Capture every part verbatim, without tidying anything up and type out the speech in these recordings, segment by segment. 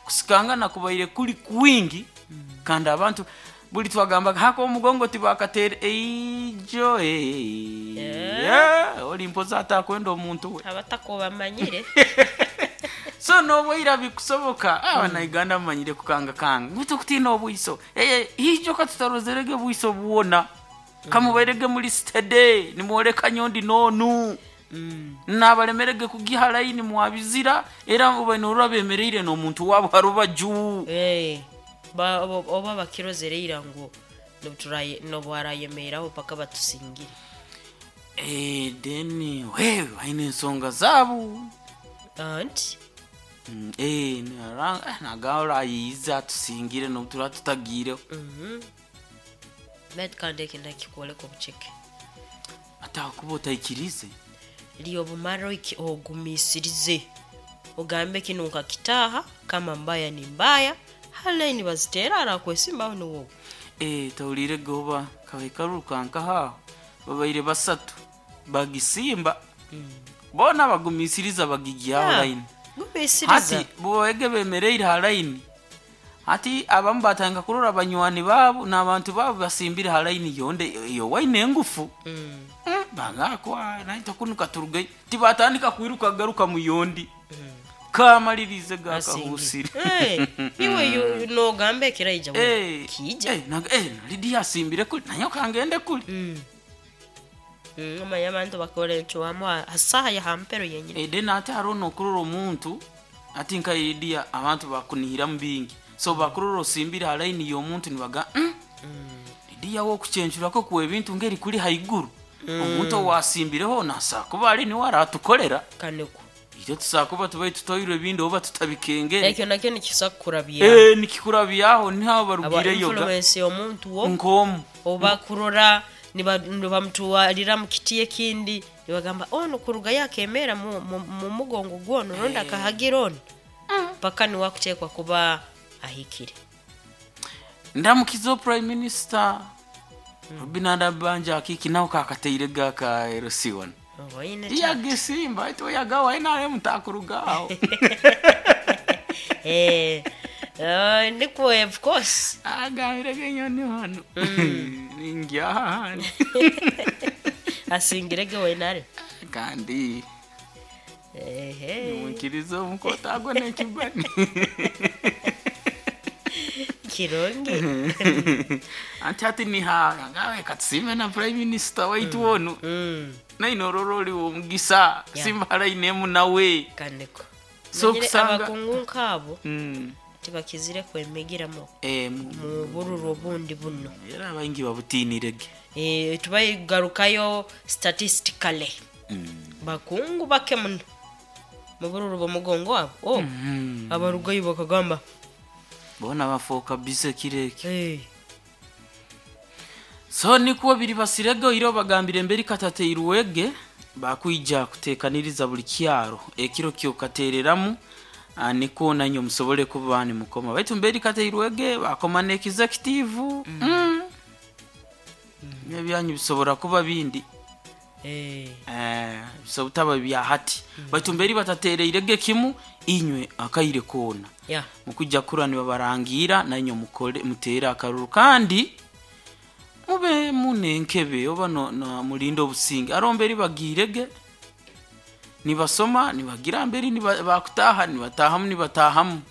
Kusikangana kubaire kuli kwingi kandi abantu buli twagambaga hako omugongo tibakateera eijo eh, Eh. oli mpoza atakwenda omuntu we. Abatako bamanyire. So nobwaira bikusoboka abanauganda mumanyire kukangakanga ngu tukutiina obwiso. Eh, ijo katutarozerege bwiso bwona kamubairege muri stade nimworeka nyondi nonu Mm. nabalemerege kugiha layini mwabizira era ubaine bemereire n'omuntu wabo harubaju. Eh, ba- oba oba bakirozere ira ngu nobuturaye- nobwarayemeraho paka batusingire. Eh, then wewe baine ensonga zaabo. Anti Mm, eh, nara- eh, nagahora ayiza atusingire nobutura tutagiireho. Mhm. Baitu kandi eki nakikwoleka obuceke. Atakuba otaikirize. Liyo obumara oiki- ogumisirize ogambe kinu nkakitaha, kama mbaya ni mbaya, halaini bazitera arakwesimbaho niwowe. Eh, tawulire goba kabaikaruka nkahaho babaire basatu bagisimba bona bagumisiriza bagigyaho Yeah, line. Gumisiriza. Hati bwege bemereire ha line, hati abamu batanga kurora banywani baabo n'abantu baabo basimbire ha line yonde iyo waine engufu. Mm. Mm, bagakwa naita kunuka turugeyo tibatandika kwiruka garuka muyondi kamalirize gakahusire. Eh, iwe yu- nogamba ekiraija we Eh, kiija. eh, naga- eh, Lidia asimbire kuli naye kangende kuli. Mm. Mm, omanya abantu bakora encuwamu hasaha ya hampero yenyini. Eh, then ate hariho nokurora omuntu ati nka Lidia abantu bakunihiramu bingi, so bakurora osimbire ha line y'omuntu nibaga mm, Lidia wokucencurako kuwa ebintu ngeri kuli haiguru omuntu owasimbireho nasakuba ali niwe aratukorera. Kaneko. Itwe tusakuba tubaye tutoirwe ebindi oba tutabikengere. Ekyo nakyo nikisa kukurabya. Eh, nikikurabyaho niho Aba barugireyo ga influence y'omuntu wo nkomu. Oba kurora niba- nibamutuwalira mu kiti ekindi nibagamba ono kuruga yakemera mu, mu, mu mugongo gwono rundi akahagira ono paka niwakutekwa kuba ahikire. Ndamukiza prime minister Robinah Nabbanja akiki nawe kakateire gaka L C one. Oine ta- Yagisimba ito yagawa N R M takurugaho. Eh, eh, ndiko of course. Agambire genyoni hano ningyaha hano. Asingirege wenare. Kandi Ehe. nimukiriza omukota agwo n'ekibani. Kirungi. Anti ati niha ngawe katusime na prime minister waitu onu Mm, nainorora oli womugisa Yeah. simba line nawe. Kaneko. So Manyire kusanga- abakungu nk'abo Mm. tibakizire kwemigiramu Eh, mu- mu bururu obundi buno. Era abaingi babutinirege. Eh, tubayigarukayo statistically bakungu bake muno mu bururu bw'omugongo abo oh, Mm. abarugayo bakagamba Bona bafuuka bize kireki. "Hey, So nikuwo biri basirege oiro bagambire emberi katateirwege bakwija kutekaniriza buli kyaro ekiro kyokatereramu ah, niko nanyo musobole kuba nimukoma baitu mberi kateirwege bakoma ne executive mm. Ebyanyu bisobora kuba bindi. Eh, Eh, bisobora butaba bya hati baitu mberi batatereirege kimu inywe akaire koona yeah. mukujja kura nibabarangira nanyo mukole mutere akaruru kandi mube munenkebe oba no, no, mulinde obusinge aro mberi bagirege nibasoma nibagira mberi niba, bakutaha nibatahamu nibatahamu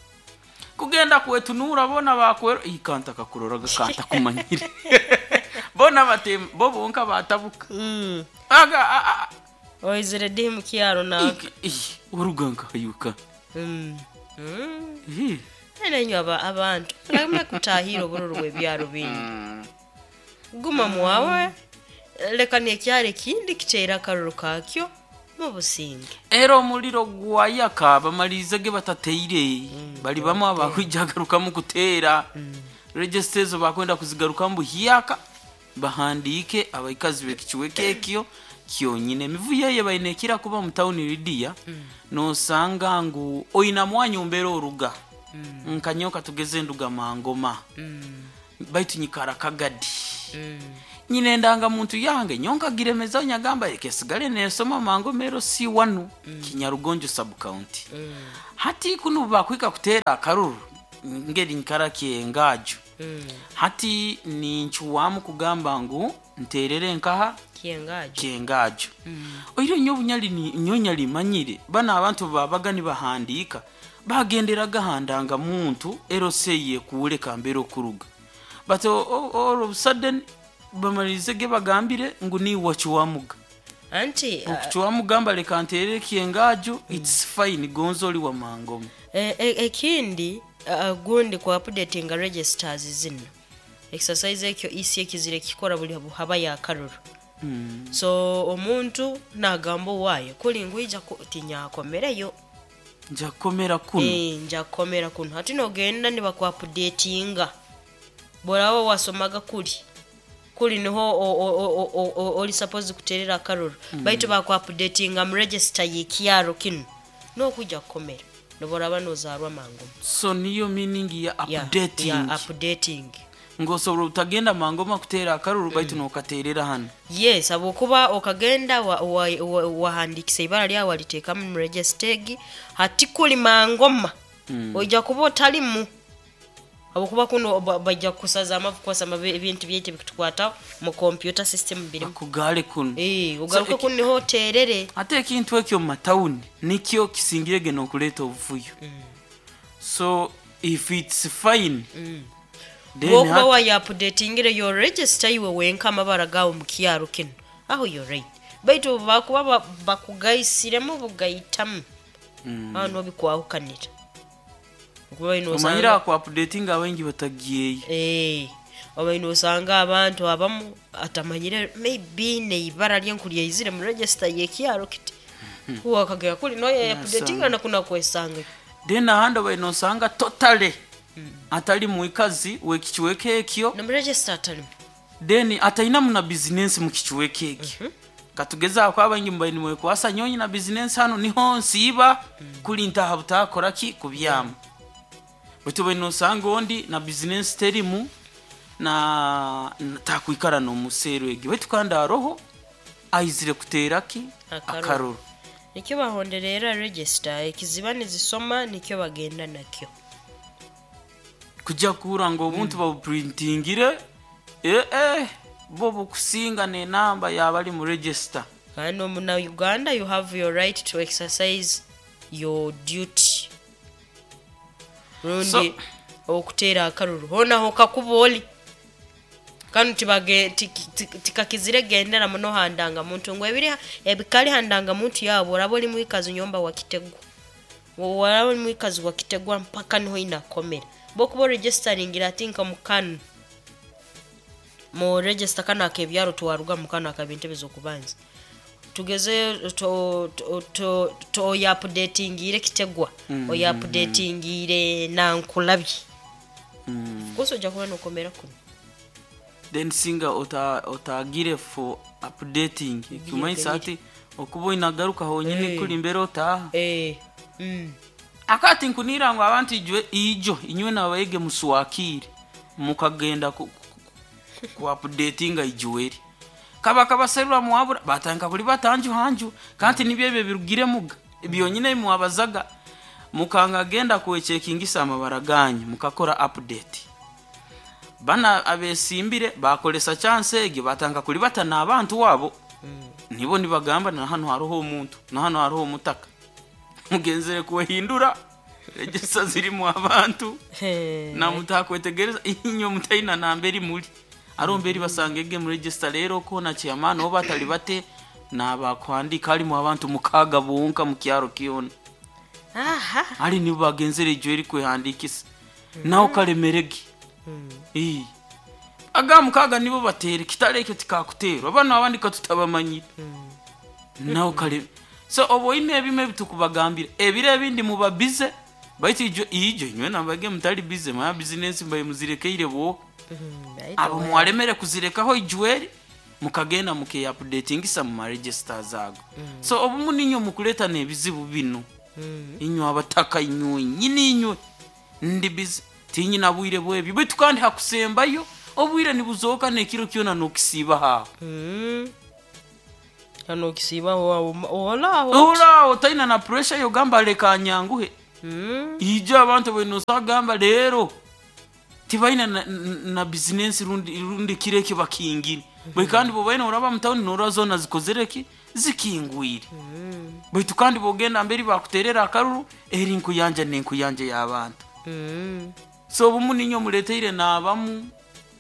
kugenda kwetunura bona bakwero ikanta kakurora gakanta kumanyire bona batem bo bonka batabuka Mm. aga a, a, Oizire dihi mu kyaro na ik- ih, oruga nkayuka. Mm. Mm. Ih. Nenyo aba abantu muleme kutahira obururu bw'ebyaro bindi, guma mwawe leka nekyaro ekindi kiteera akaruru kakyo mu businge. Era omuliro gwayaka bamalirize ge batateire bali bamwe abakwijagarukamu kuteera register ezo bakwenda kuzigarukamu buhyaka bahandiike abaikazi bekikiweka ekyo kyonyine emivuyo eyo baine ekira kuba mu tawuni Lidia nosanga ngu oina mwanya ombeera oruga nkanyoka tugeze nduga mangoma baitu nyikara kagadi. Nyine endangamuntu yange nyonka giremeza nyagamba ekesigale nesoma mangoma L C wanu Kinyarugonjo sub county. Hati kunu bakwika kutera akaruru ngeri nkara kyengajo. Hati ninchuwamu kugamba ngu nterere nkaha? Kyengajo. Kyengajo. Oiro nyo bunyali ni nyonya limanyire bana abantu babaga nibahandika bagenderaga handanga muntu L C yekuule kambere okuruga, but o- o- all of a sudden bamalize ge bagambire ngu niwe wakiwamuga. Anti uh, Okukiwamugamba leka nterere kyengajo, it's fine gonza oli wa mangoma. e- e- ekindi uh, gundi ku updatinga registers zino, exercise ekyo E C ekizire kikora buli haba yakaruru. Mm. So omuntu nagamba owaayo kuli ngwija ku- tinyakomereyo. Nja kukomera kuno. Eh, nja kukomera kuno. Hati nogenda nibakuupdatinga boraba wasomaga kuli kuli niho o- o- o- o- o- oli suppose kuterera akaruru, baitu bakuupdatinga mu register y'ekyaro kino nokujja kukomera noboraba nozarwa mangu. So niyo meaning ya Ya, updating. Ya updating. Ng'osobola obutagenda mangoma kuteera akaruru, baitu nokateerera hano. Yes, habwokuba okagenda wahandikisa wa, wa, wahandikisa ibara lyawe waliteekamu mu register egi, hati kuli mangoma Mm. oija kuba otalimu habwokuba kuno ba- bajja kukusaza amavu kwasama ebintu byaitu ebikutukwataho mu computer system birimu. Akugale kuno. Eh, ogaruke So, kuno niho oterere. Ate ekintu ekyo mu matawuni nikyo kisingire geno okuleeta obuvuyo. So if it's fine, then Bwokuba hati- wayaupdatingire your register iwe wenka amabara gawe mu kyaro kino, aho you're right, baitu bakuba ba- bakugaisiremu bugaitamu, Mm. aho nobikwahukanira. Okuba ino Omanyire osanga aku updating abaingi batagiyeyo. Eh, oba ino osanga abantu abamu atamanyire maybe neibara lyenkulyaizire mu register yekyaro kiti wakagera kuli noye updatinga nakuna kwesanga. Then ahandi obaire nosanga totally atali mwikazi wekikiweka ekyo. Nomu register atalimu. Then atainamu na bizinensi mu kikiweka ekyo. Katugezaako abaingi mubaire nimwekwasa nyonyi na bizinensi hano niho nsiiba kuli ntaha butakora ki kubyama, baitu obaire nosanga ondi na bizinensi terimu na na- takwikara nomuseero egyo, baitu kandi aroho aizire kuteera ki? Akaruru. Akaruru. Nikyo bahonderera register ekiziba nizisoma, nikyo bagenda nakyo. Kujja kuhura ngu obuntu babuprintingire, ee eh, bo bukusinga nenamba yabali mu register. Kandi omuna Uganda you have your right to exercise your duty rundi So- okuteera akaruru honaho kakuba oli kanu tibage- tiki- tiki- tikakizire gendera muno handanga muntu ngu ebiri ebikali handanga muntu yabo. Oraba oli mwikazi nyomba wakitegwa, waraba oli mwikazi wakitegwa mpaka niho inakomera bokuba oregisteringira ati nka mukanu mu register kano akebyaro twaruga mukano akabintu ebizokubanza tugeze to to to, to oyaupdatingire kitegwa, Mm. oyaupdatingire nankulabye, mm. kosa ojja kuba nokomera kuno. Then singa ota otagire for updating ekimanyisa ati okuba oinagaruka honyini Eh. kuli mbere otaha. Eh, mm. Akati nkunira ngu abantu ijwe ijo inywe nabayege muswakire mukagenda ku, ku, ku updatinga ijuweri kaba kabaserura muwabura batanga kuli batanju hanju kandi nibyo ebyo birugire muga byonyine mwabazaga mukanga genda kuwechekingisa amabara ganyu mukakora update. Bana abesimbire bakolesa chance egyo batanga kuli batana abantu wabo nibo nibagamba na hano hariho omuntu na hano hariho omutaka mugenzere kuwehindura register zirimu abantu namutakwetegereza inyo mutaina namberi muli aromberi basanga ege mu register. Rero kona chairman oba batali bate nabakwandika halimu abantu mukaga bonka mu kyaro kiona. Aha. Ali nibo bagenzere ijo eri kwehandikisa naho kalemerege. Ii. Aga mukaga nibo batere kitale ekyo tikakuterwa bano abandi katutabamanyire naho kale. So oboine ebimwe bitukubagambira ebiro ebindi muba bize, baitu ijo ijo inywe nabage mutali bize maya business mbaye muzirekeire bo abo mwalemere kuzirekaho ijuweri mukagenda mukeupdatingisa mu maregister zago. So obumu ninyo mukuleta n'ebizibu bino inywe abataka inywe nyini inywe ndi bize tinyina bwire bwebyo, baitu kandi hakusembayo. Obwire nibuzoka n'ekiro kyona nokisiiba haho. Mm. Hano okisiiba olaho. Ora otaina na pressure yogamba leka nyanguhe. Mm. Ijo abantu benosagamba leero tibaina na, na bizinesi rundi, rundi kireke bakingire. Bwe kandi bo baina oraba mu town nora zona zikozereki zikingwire. Baitu kandi bogenda mberi bakuterera akaruru eri nkuyanja nenkuyanja y'abantu. Mm. So obumu ninyo muleteire n'abamu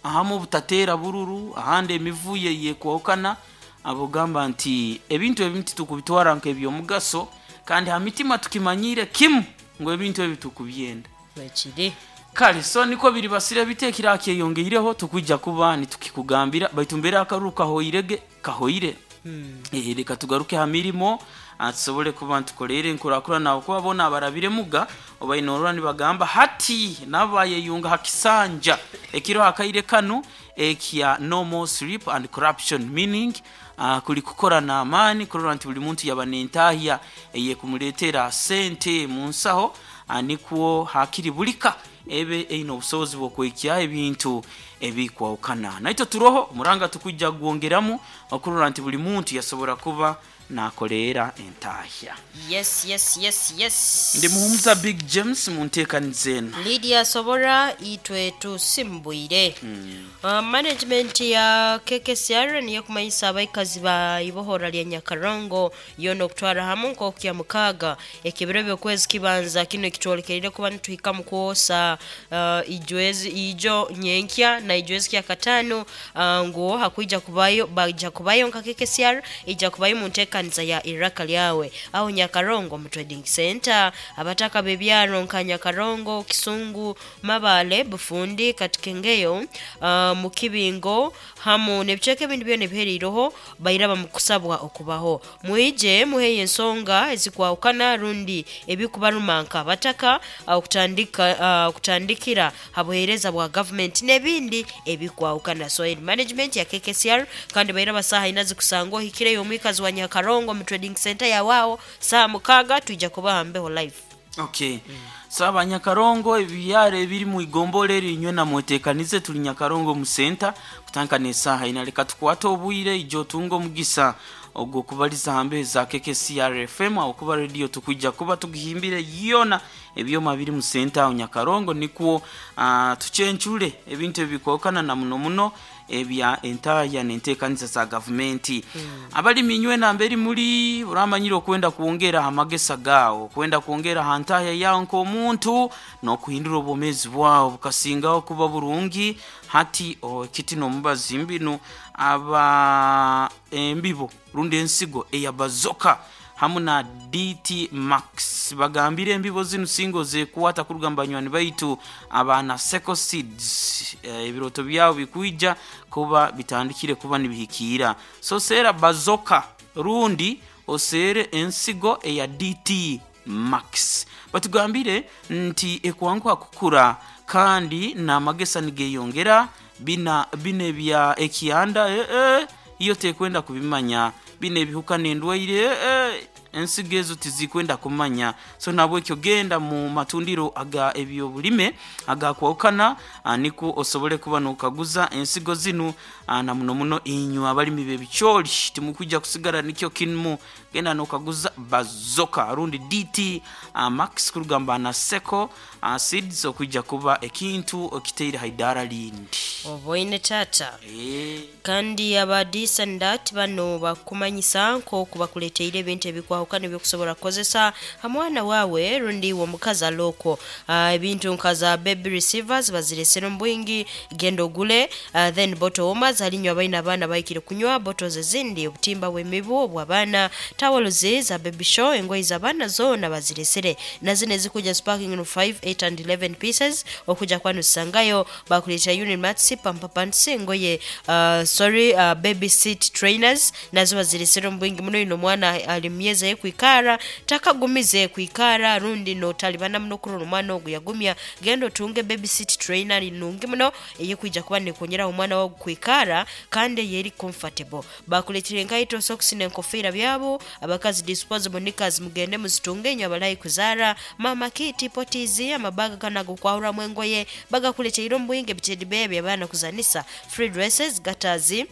ahamu obutatera bururu ahandi emivuyo yekwokana abogamba nti ebintu ebimu titukubitwara nk'ebyomugaso kandi ha mitima tukimanyire kimu ngu ebintu ebi tukubyenda. Bakiri. Kale so niko biri basire bite ekirakyeyongeireho tukwijja kuba nitukikugambira baitu mbere akaruru kahoirege kahoire. Mm. Eh, reka tugaruke ha mirimo ah, tusobole kuba ntukoleire enkurakurana nabo kuba bona abarabire muga obaine nibagamba hati nabayeyunga ha kisanja ekiro hakaire kanu ekya no more sleep and corruption meaning uh, kuli kukora n'amaani kurora nti buli muntu yaba nentahya eyekumuleetera sente mu nsaho uh, nikwo hakiri bulika ebe eine obusobozi bw'okwekya ebintu ebikwawukana. Naitwe turoho omuranga tukujja gwongeramu okurora nti buli muntu yasobora kuba nakoleera entahya. Yes, yes, yes, yes. Ndi muhumuza Big James mu nteekaniza eno. Lydia Sobora itwe tusimbwire. Mm. Uh, management ya K K C R niyo kumanyisa abaikazi ba ibohora lya Nyakarongo yono okutwara hamu nk'okya mukaga ekibiro by'okwezi kibanza kino ekitwolekerire kuba nituhika mu kwosa uh, ijwezi ijo nyenkya na ijwezi kya katano uh, ngo hakuija kubayo baija kubayo nka K K C R ija kubayo mu nteekaniza ya iraka lyawe aho Nyakarongo mu trading center abataka bebyaro nka Nyakarongo, Kisungu, Mabale, Bufundi, Katikengeyo, uh, Mukibingo hamu n'ebicweka ebindi byona ebihereireho bairaba mu kusabwa okubaho. Mwije muheye ensonga ezikwawukana rundi ebikubaruma bataka okutandika uh, okutandikira ha buheereza bwa government n'ebindi ebikwawukana. So in management ya K K C R kandi bairaba saha ina zikusangwa ohikireyo omwikazi wa Nyakarongo mu trading center yawao saa mukaga tuija kubaha mbeho live. Okay. Mm. So abanyakarongo ebyaro ebiri mu igombole rinywe na mwetekanize tuli Nyakarongo mu center kutanka nesaha inaleka tukwata obwire ijo tungo mugisa ogwo kubaliza hambe za K K C R F M aho kuba radio tukujja kuba tugihimbire yona ebyoma biri mu center aho Nyakarongo nikwo uh, tucencure ebintu ebikokana na muno muno ebya entaya nenteekaniza za gavumenti. Mm. Abali minywe na mberi muri uramanyire okwenda kuongera amagesa gao kwenda kuongera hantaya yao nk'omuntu n'okuhindura obwomezi bwao bukasingaho kuba burungi hati ekiti n'omubazi mbinu aba embibo rundi ensigo eya bazoka hamu na D T Max bagambire embibo zinu singo zekuwata kuruga banywani baitu abana Seco Seeds ebiroto byabo bikuija kuba bitandikire kuba nibihikira. So sera bazoka rundi osere ensigo eya D T Max batugambire nti ekwanguha kukura kandi n'amagesa nigeyongera bina bine bya ekianda eh, eh, iyo tekwenda kubimanya bine ebihuka n'endwaire eh, ensigo ezo tizikwenda kumanya. So nabwe ekyo genda mu matundiro aga ebyobulime agakwawukana niko osobole kuba nokaguza ensigo zinu na muno muno inywe abalimi b'ebicooli timukujja kusigara nikyo kimu genda nokaguza bazoka rundi D T uh, Max kurugamba na Seco uh, Seeds okujja kuba ekintu okiteire haidara lindi oboine tata e. Kandi aba disandat bano bakumanyisa nko bakuleteire ebintu ebikwahukana ebyokusobola kukozesa hamwana wawe rundi wo mukazi aloko uh, ebintu nkaza baby receivers baziresera mbwingi gendo gule uh, then bottle warmers alinywa abaina abaana baikire kunywa bottles ezindi obutimba bw'emibu obw'abaana towels za baby show engoye z'abaana zona baziresere na zine zikuja sparking no five, eight and eleven pieces okuja kwanu sangayo bakuletea unit mats pampa pants engoye uh, sorry uh, baby seat trainers nazo baziresera mbwingi muno ino mwana ali myezi kwikara takagumize kwikara rundi notalibana muno kurora omwana ogu yagumya. Genda otunge baby seat trainer nungi muno eyekwijja kuba nekonyera omwana wagu kwikara kandi yeri comfortable. Bakuletire enkaito, socks n'enkofiira byabo abakazi, disposable knickers mugende muzitunge nyo abalayi kuzara mama kiti potizi amabaga kanago kwahuramu engoye bagakuleteire omubwinge bitedi bebe abaana kuzanisa, free dresses, gatazi,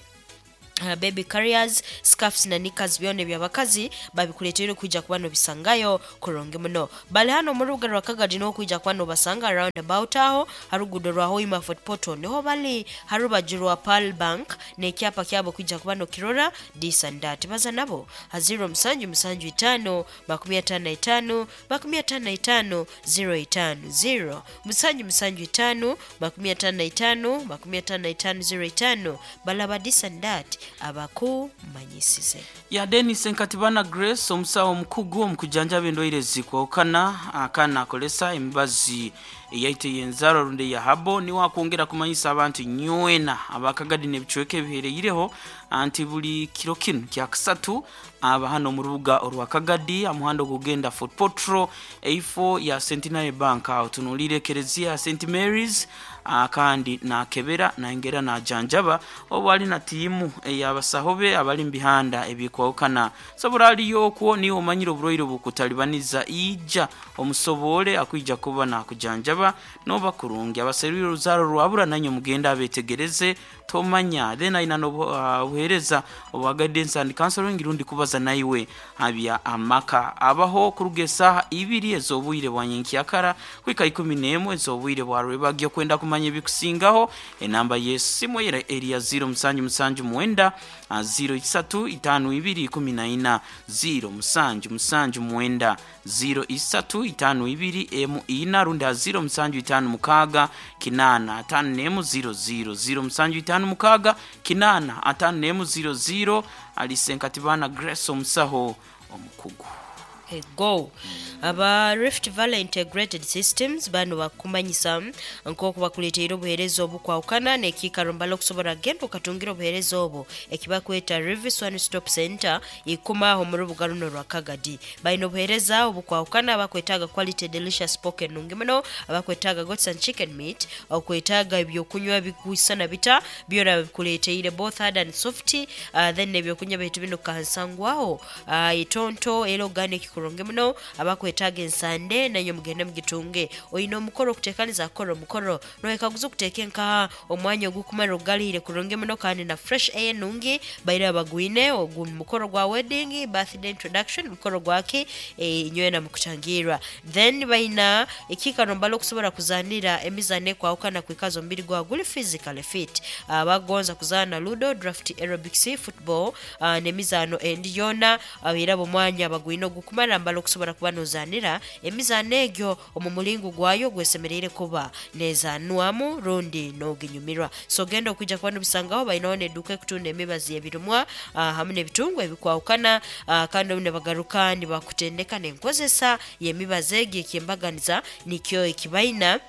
Uh, baby carriers, scarves na knickers byona ebyabakazi babikuleteire kwijja kuba nobisangayo kurungi muno. Bali hano mu rubuga rwa Kagadi n'okwija kuba nobasanga round about aho harugudo rwa Hoima Fort Portal niho bali harubaju rwa Pearl Bank n'ekyapa kyabo kwijja kuba nokirora this and that. Baza nabo ha zero musanju musanju itano makumi atano na itano makumi atano na itano zero itano zero musanju musanju itano makumi atano na itano makumi atano na itano zero itano. Balaba this and that abakumanyisize. Ya Denis Nkatibana Grace omusawo omukugu omukujanjaba endwaire zikwawukana akana akolesa emibazi eyaite yenzaro rundi ya habo niwe akwongera kumanyisa abantu nywena abakagadi n'ebicweka ebihereireho anti buli kiro kinu kya kasatu aba hano mu rubuga orwa Kagadi amuhando gugenda Fort Portal eifo ya Centenary Bank aho tunulire Kerezia ya Saint Mary's kandi nakebera naengera najanjaba obu ali na tiimu ey'abasaho be abali mubihanda ebikwawukana. Sobora aliyo okwo niwe omanyire oburwaire obukutalibaniza ija omusobole akwija kuba nakujanjaba noba kurungi. Abaserwire oruzaaro rwabura nanye mugenda abetegereze tomanya then aina n'obuheereza obwa guidance and counseling rundi kubaza naiwe abya amaka abaho kuruga esaaha ibiri ez'obwire bwa nyenkyakara kwika ikumi n'emwe ez'obwire bwa rwebagyo. Kwenda kumanya ebikusingaho enamba y'essimu era eri ya zero musanju musanju mwenda zero isatu itano ibiri ikumi na ina zero musanju musanju mwenda zero isatu itano ibiri emu ina rundi ha zero musanju itano mukaaga kinana atano n'emu zero zero zero musanju itano mukaaga kinana atano n'emu zero zero. Alise Nkatibana Grace omusaho omukugu. Ego aba Rift Valley Integrated Systems bano bakumanyisa nk'oku bakuleteire obuheereza obukwawukana n'ekiikaro mbala okusobola genda okatungira obuheereza obwo ekibakweta Rivis One Stop Center ikumaho mu rubuga runo rwa Kagadi. Balina obuheereza obukwawukana abakwetaaga quality delicious pork nungi muno, abakwetaaga goats and chicken meat, okwetaaga ebyokunywa bigwisana bita byona babikuleteire both hard and soft. uh, then ebyokunywa baitu bino kansangwaho uh, itonto era organic kurungi muno. Abakwetaaga ensande nanyo mugende mugitunge. Oyina omukoro okuteekaniza akora omukoro noyekaguza okuteeka enkaha omwanya ogukumara ogugalire kurungi muno kandi na fresh air nungi baire bagwine ogu mukoro gwa wedding, birthday, introduction mukoro gwaki e, nywena mukutangirwa. Then baina ekiikaro mbala okusobola kuzanira emizaano ekwawukana kwikaza omubiri gwawe guli physically fit. Abagonza kuzaana ludo, draft, aerobics, football uh, n'emizaano endi yona era omwanya bagwine ogukumara mbala okusobola kuba nozanira emizaano egyo omu mulingo gwayo gwesemereire kuba nezanwamu rundi noginyumirwa. So genda okwijja kuba nobisangaho. Balinaho n'edduuka ekutunda emibazi ebirumwa uh, hamu n'ebitungwa ebikwawukana uh, kandi obu nibagaruka nibakutendeka n'enkozesa y'emibazi egyo ekyembaganiza nikyo ekibaina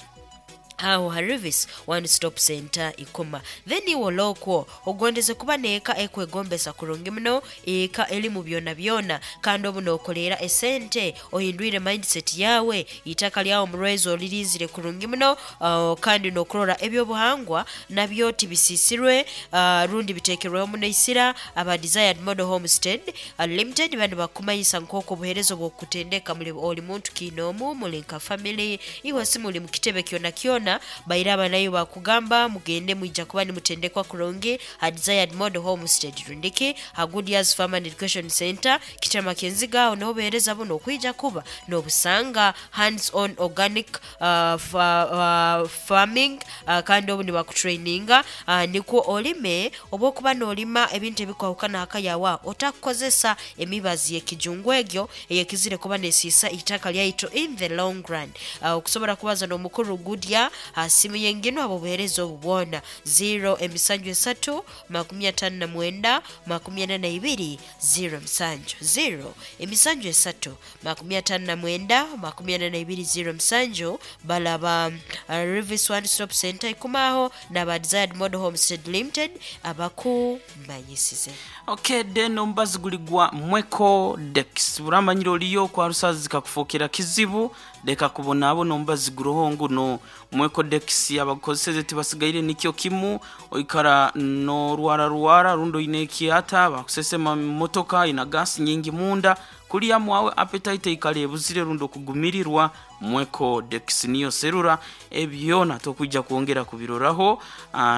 aho Harvis One Stop Center ikoma. Then iwe olokwo ogondeze kuba neeka ekwegombesa kurungi muno eka elimu byona byona kandi obu nokolera esente ohindwire mindset yawe itaka lyawo murwezo olirinzire kurungi muno uh, kandi nokurora ebyobuhangwa nabyo tibisisirwe uh, rundi bitekerweho muno isira. Aba Desired Model Homestead uh, Limited bano bakumanyisa nk'oku obuheereza obwokutendeka muli oli muntu kiinoomu muli nka family iwe si muli mu kitebe kyona kyona baira abanayo bakugamba mugende mwija kuba nimutendekwa kurungi ha Desired Model Homestead rundiki ha Good Years Farm and Education Center Kitama Kenziga aho niho buheereza buno okwija kuba nobusanga hands on organic uh, fa, uh, farming uh, kandi obu nibakutraininga uh, nikwo olime oba okuba n'olima ebintu ebikwahukana hakayawa otakukozesa emibazi y'ekijungu egyo eyekizire kuba nesiisa itaka lyaitu in the long run. uh, okusobola kubaza n'omukuru Goodyear Ha simu yengino abo buhereza obu bwona zero emisanju esatu makumi atano na mwenda makumi ana na ibiri zero musanju zero emisanju esatu makumi atano na mwenda makumi ana na ibiri zero musanju. Balaba uh, Rivis One Stop Center ikumaho na Desired Model Homestead Limited abakumanyisize. Okay, then ombazi guligwa Mweko Dex buramanyiro oliyo kwa rusazi kakufokera kizibu leka kubona abo nombazi guroho nguno Mweko Dex abakozeseze tibasigaire nikyo kimu oikara no rwara rwara rundo ine kiata bakusesema motoka ina gas nyingi munda kuliya mwawe appetite ikale buzire rundo kugumirirwa. Mweko Dex niyo serura ebyona tokujja kuongera kubiroraho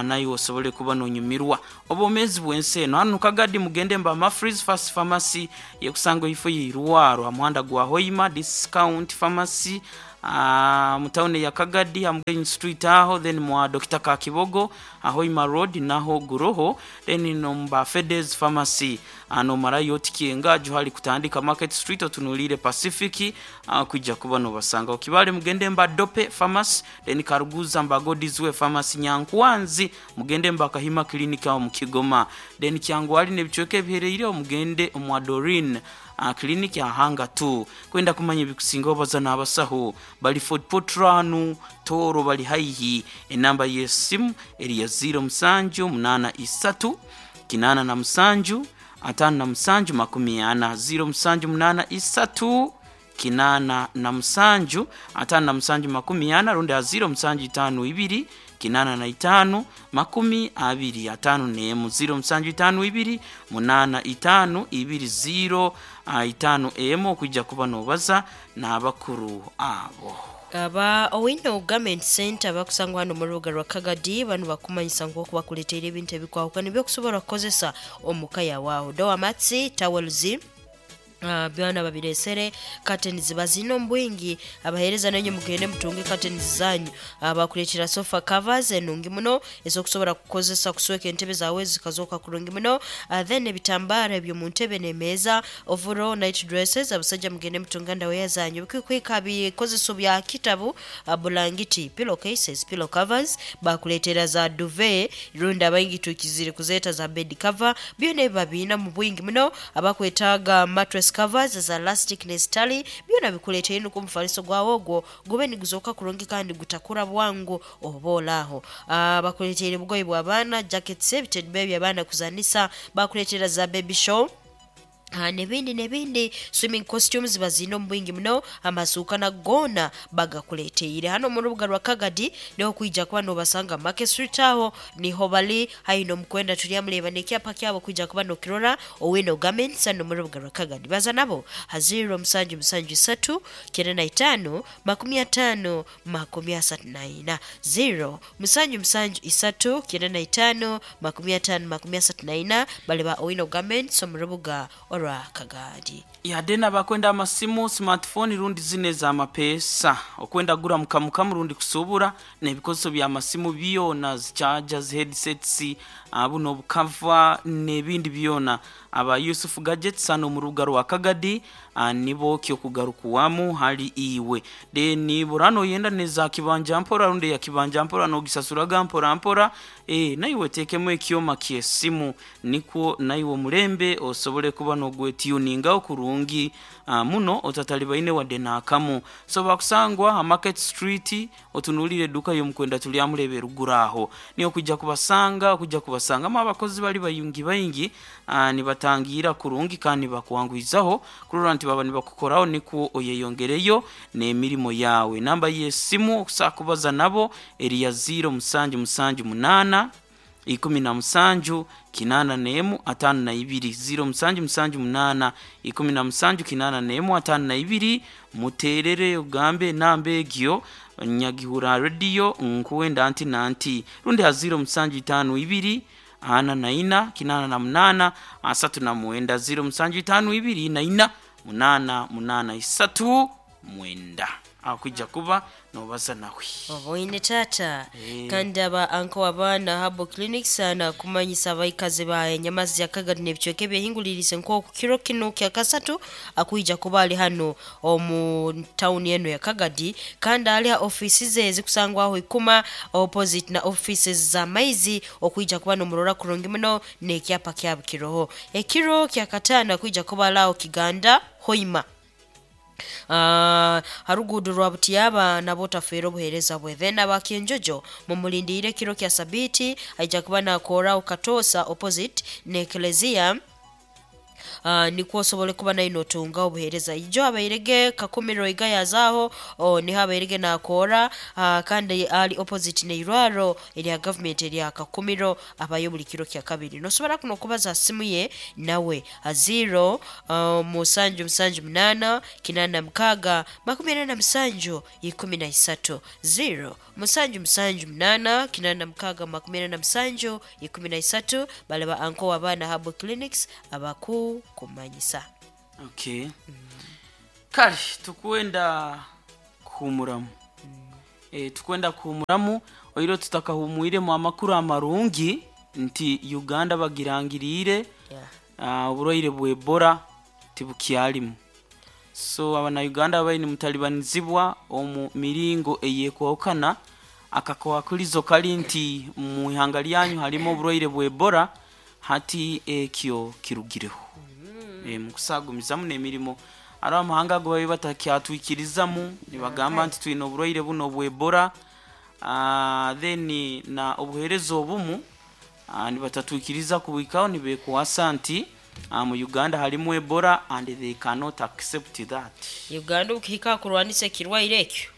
nayo osobole kuba nonyumirwa obomezi bwense eno. Hano Kagadi mugende mba Mafreeze Fast Pharmacy yekusango ifo yirwaro amuhanda gwa Hoima Discount Pharmacy uh, mutawune ya Kagadi Hamgenyi Street aho, then mwa Doctor Kakibogo Ahoima Road naho guroho, then nomba Fedes Pharmacy ano marayo tikienga juhali kutandika Market Street otunulire Pacific uh, kujja kuba no basanga okibale mugende mba Dope Pharmacy, then Karuguza mba Godizwe Pharmacy Nyankwanzi mugende mba Kahima Clinic aho mukigoma, then Kyangwali nebichweke bihereire mugende mwa Dorin uh, clinic ya hanga tu kwenda kumanya ebikusinga obaza n'abasaho bali Fort Potranu Toro bali haihi. Enamba y'essimu eri ya zero musanju munana isatu kinana na musanju atano na musanju makumi ana zero musanju munana isatu kinana na musanju atano na musanju makumi ana rundi ya zero musanju itano ibiri kinana na itano makumi abiri atano nemu zero musanju itano ibiri munana itano ibiri zero uh, itano emu okujja kuba nobaza n'abakuru abo. Aba Owino Garment Center bakusangwa hano mu rubuga rwa Kagadi bano bakumanyisa ngo kubakuleteera ebintu ebikwahukana ebyokusobola kukozesa omuka yawaho doormats, towels, Uh, byona babiresere curtains bazino mbwingi abahereza nanyu mugende mutunge curtains zanyu. Abakuletera uh, sofa covers enungi muno ezokusobola kukozesa kusweka entebe zawe zikazoka kurungi muno. uh, then ebitambara ebyo mu ntebe n'emeeza, overall night dresses, abasajja mugende mutunga ndaweya zanyu bikwika bikozeso bya kitabu, uh, bulangiti, pillow cases, pillow covers, bakuletera za duvet runda abaingi tukizire kuzeta za bed cover byona babina mu bwingi muno. Abakwetaaga mattress covers za elastic ne stali byona bikuleetera ino kumufaliso gwawo ogwo gube niguzoka kurungi kandi gutakura bwangu oba olaho. Uh, bakuleetera obugoye bw'abaana, jackets, ebitebe by'abaana kuzanisa, bakuleetera za baby show Uh, nebindi nebindi, swimming costumes bazino mbwingi muno, amasuuka na gona bagakuleteire hano mu rubuga rwa Kagadi niho kwijja kuba nobasanga Market Street aho niho bali haino mukwenda tulyamuleba nekyapa kyabo kwijja kuba nokirora Owino Garments hano mu rubuga rwa Kagadi. Baza nabo ha zero musanju musanju isatu kenda na itano makumi atano makumi asatu na ina zero musanju musanju isatu kenda na itano makumi atano makumi asatu na ina bali ba Owino Garments mu rubuga orwa Kagadi. Yadde nabakwenda amasimu smartphone rundi zine za mapesa okwenda gura mukamukamu rundi kusubura n'ebikozeso bya masimu byona chargers, headsets, buno obukava n'ebindi byona. Aba Yusuf Gadgets hano mu rubuga rwa Kagadi nibo kyokugarukuwamu hali iwe then burano yenda neza kibanja mpora rundi ya kibanja mpora nogisasuraga mpora mpora e, naiwe tekemu ekyoma kyesimu nikwo naiwe mulembe osobole kuba nogwetuninga okurungi uh, muno otatalibaine wadde nakamu. So bakusangwa Market Street otunulire eduka yomukwenda tulyamulebe ruguraho niyo kujja kubasanga kujja kubasanga mu abakozi bali bayungi bayingi uh, nibatangira kurungi kandi bakuwanguizaho kurora nti baba nibakukoraho niko oyeyongereyo n'emirimo yawe. Namba y'esimu okusakubaza nabo eri ya zero musanju musanju munana ikumi na musanju kinana nemu atano na ibiri zero musanju musanju munana ikumi na musanju kinana nemu atano na ibiri. Muterere ugambe namba egyo Nyagihura radio nkuwenda anti nanti rundi ha zero musanju itano ibiri ana na ina kinana na munana asatu na mwenda zero musanju itano ibiri na ina munana munana isatu mwenda. Akwija kuba nobaza nawe. Oboine tata. Eh. Kandi aba anko abaana habo clinic sana kumanyisa abaikazi ba Nyamazi ya Kagadi n'ebicweka ebyehingulirize nk'oku kiro kino kya kasatu akwija kuba ali hano omu tawuni eno ya Kagadi, kandi ali ha ofisi ze zikusangwaho Ikuma opposite na offices za maizi, okwija kuba nomurora kurungi muno n'ekyapa kyabo kiroho. Ekiro kya katano akwija kuba alaho Kiganda Hoima, Ah, harugudo rwa Butiyaba, nabo tafeera obuheereza bwe. Then abakenjojo mumulindire kiro kya sabiti, aija kuba nakoraho Katosa opposite ne eklezia, Uh, nikwo osobole kuba nayo notunga obuheereza. Ijo abairege Kakumiro igayazaho, oh, niho abairege nakora, uh, kandi ali opposite neirwaro erya government erya Kakumiro. Abayo buli kiro kya kabiri. Nosobora kuno kubaza simu ye nawe a zero uh, musanju musanju munana kinana mkaga makumi ana na musanju ikumi na isatu, zero musanju musanju munana kinana mkaga makumi ana na musanju ikumi na isatu. Balaba anko abaana habo clinics abaku kumanyisa. Okay, kale tukwenda kuhumuramu, e, tukwenda kuhumuramu oiro tutakahumwiremu amakuru amarungi nti Uganda bagirangirire yeah. uh, oburwaire bwa Ebola tibukyalimu. So abanauganda babaire nimutalibanizibwa omu miringo eyekwahukana, akakwakurizo kali nti mu ihanga lyanyu halimu oburwaire bwa Ebola, hati ekyo kirugireho. E, mukusagumizamu n'emirimo ari amahanga ago babe batakyatwikirizamu nibagamba nti twine oburwaire buno bwa Ebola. uh, then na obuheereza obumu uh, nibatatwikiriza kubwikaho nibekwasa nti uh, mu Uganda halimu Ebola and they cannot accept that. Uganda okihika kurwanisa ekirwaire ekyo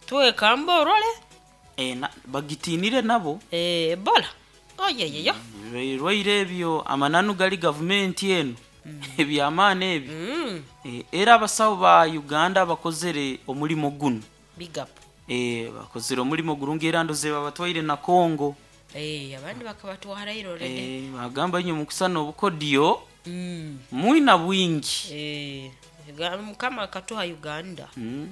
twekamba orole. E, na, bagitinire nabo. Eh, ebola oyeyeyo. Ebirwaire ebyo amananu gali gavumenti eno ebyamaani ebyo. mm. E, era abasawo ba Uganda bakozere omulimo guno. Big up. E, bakozere omulimo gurungi era ndoze babatwaire na Congo. Eh, abandi bakabatwarairo already. E, bagamba inye mukusana obukodyo mm. mwina bwingi. Eh, Uga- mukama akatuha Uganda. Mm.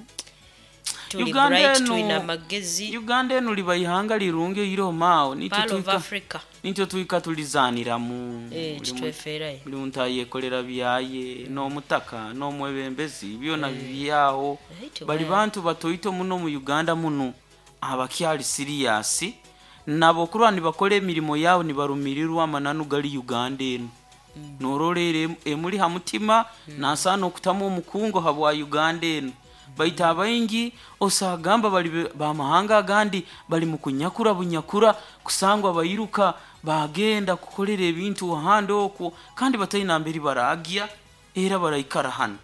Tuli Uganda bright, eno- tulina amagezi. Uganda eno liba ihanga lirungi oiromawo. Pearl of Africa. Nityo twika tulizaniramu. Eh, Buli muntu- kitwefeerayo. Buli muntu ayekolera byaye n'omutaka n'omwebembezi byona bibyaho. Right, bali well. bantu batoito muno mu Uganda muno abakyali siriyasi nabo kurwa nibakora emirimo yabo nibarumirirwa amananu gali Uganda eno norolera em- emuli ha mutima nasaana okutamu omukungo habwa Uganda eno. Baita abaingi osagamba bali be- bamahanga agandi bali mu kunyakura bunyakura kusangwa bayiruka bagenda kukolera ebintu ahandi okwo kandi bataina mberi baragya era baraikara hano.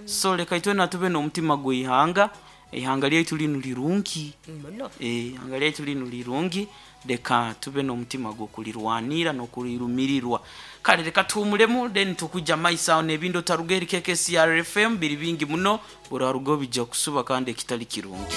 So leka itwena tube n'omutima gw'ihanga, ihanga lyaitu linu lirungi. Muno. Eh, ihanga lyaitu linu lirungi, leka tube n'omutima gw'okulirwanira n'okulirumirirwa. Kale leka tuhumulemu then tukujja maiso awo n'ebindi otaruga eri K K C R F M biri bingi muno buraruga bijja kusuba kandi ekitali kirungi.